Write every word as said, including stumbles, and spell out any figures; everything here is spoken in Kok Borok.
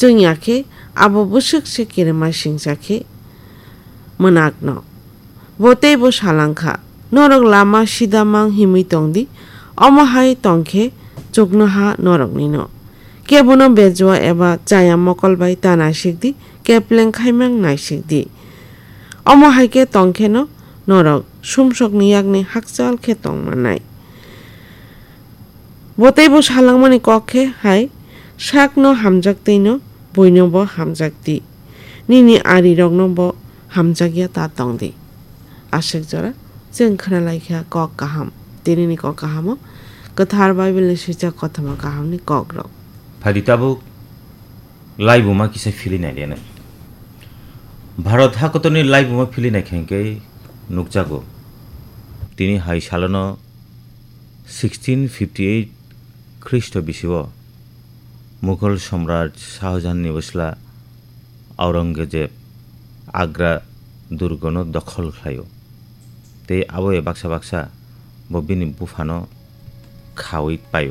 Tungya khe abo bwswk se kirima singcha khe mwnakno. Bo teibo salangkha, "Norok lama sida mang himwi tongdi, omo hai tongkhe chuknoha noroknino. Kebono bejua eba chaya mokol bai ta naisikdi, kepleng khaimang naisikdi. Omo hai khe tongkheno norok sumsokni yakni hakchal khe tongmannai." Bo teibo salangmani kok khe hai, "Sakno hamjak tei no buino bo hamjak di, nini arirokno bo hamjakya ta tong di." Aswk jora chwng khna lai kha kok kaham. Tinini kok kahamo kwthar Bible ni swijak kothoma kahamni kokrok. Phaidi tabuk laibuma kisa phili nai rene. Bharat hakotorni laibuma phili nai khe hwnkhe nukjago. Tini hai salono sixteen fifty eight Khristo bisio Mughal Samraj Shah Jahan ni bwsla Aurangzeb Agra durgono dokhol khlaio. Tei aboya baksa baksa bo bini buphano khaui paio.